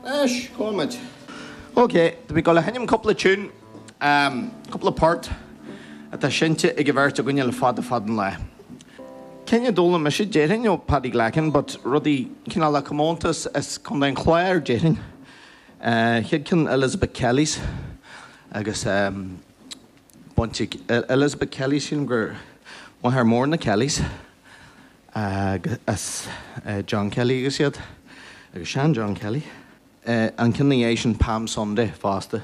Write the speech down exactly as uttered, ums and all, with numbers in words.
Anois, gabhfaidh muid. Ok, tá mé ag dul a sheinm cúpla tune, um, cúpla port atá seinnte ag an bheirt againne le fada fada an lá. Cinn a d'fhoghlaim mise déarfainn ó Paddy Glackin, but rudaí cineál le comórtas as Contae an Chláir déarfainn. Uh, chéad ceann Elizabeth Kelly's agus um, baint ag Elizabeth Kelly sílim gur máthair mór na Kellys agus uh, John Kelly agus iad agus sean John Kelly. Uh, an ceann sin Palm Sunday fosta.